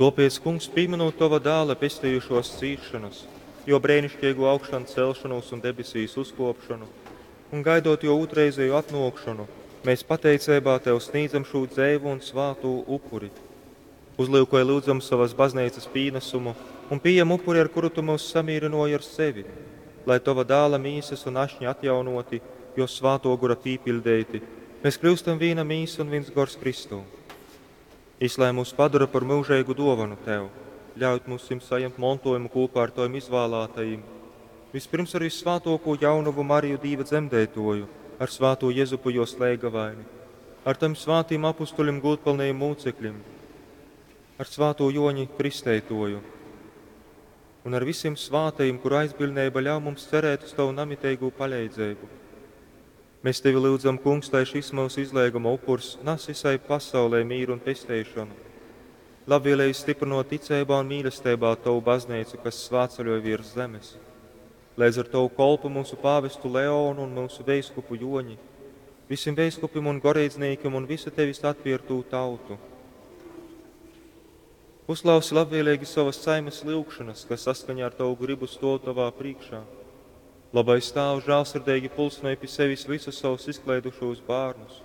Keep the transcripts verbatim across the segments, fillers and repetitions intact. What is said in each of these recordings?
Tōpēc, Kungs, pīmynūt Tova Dāla pestejušōs cīsšonas, Jō breiniškeigū augšancelšonūs un debesīs uzkōpšonu, un gaidot Jō ūtrreizeju atnōkšonu, mēs pateiceibā Tev snīdzam šū dzeivu un svātū upuri. Uzlyukoj, lyudzam, sovas Bazneicas pīnasumu un pījem upuri, ar kuru Tu myus samīrynōji ar sevi, lai, Tova Dāla Mīsas un Ašņa atjaunōti, Jō Svātō Gora pīpiļdeiti, mes kļyustam vīna mīsa un vins gors Kristū. Jys lai myus padora par myužeigu dōvonu Tev, ļaujūt myusim sajemt montōjumu kūpā ar Tovim izvālātajim, vyspyrms ar vyssvātōkū Jaunovu Mariju Dīva Dzemdeitōju, ar svātū Jezupu jōs leigavaini, ar Tovim svātim apustuļim gūdpylnajim mūcekļim, ar svātū Jōņi Kristeitōju un ar visim svātajim, kuru aizbiļdneiba ļauj mums cerēt uz Tovu namiteigū paleidzeibu. Mēs Tevi lyudzam, Kungs, lai šis myusu izleiguma upurs nas visai pasaulei mīru un pesteišonu. Labvēlīgi stiprinot ticeibā un mīlesteibā Tovu baznīcu, kas svātceļoj virs zemes. Leidz ar Tovu kolpu mūsu pāvestu Leonu un mūsu veiskupu Joņi, visiem veiskupim un goreidznīkim un visu Tevis atpiertū tautu. Uzklausi labvēlīgi savas saimes lyugšanas, kas saskaņā ar Tavu gribu stōv Tavā priekšā. Labais Tāvs žālsirdeigi pulcinoj pi sevis visus savus izkleidušūs bērnus,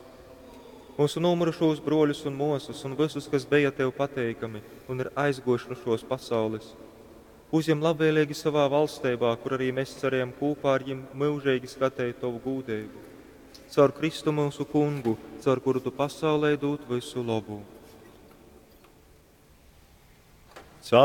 mūsu nūmirušūs bruoļus un muosas un visus, kas bija Tev pateikami un ir aizguojuši nu šos pasaules. Uzņem labvēlīgi savā valsteibā, kur arī mēs cerējam kopā ar viņiem mūžīgi skatīt Tavu gūdību. Caur Kristu mūsu kungu, caur kuru Tu pasaulē dod visu labu.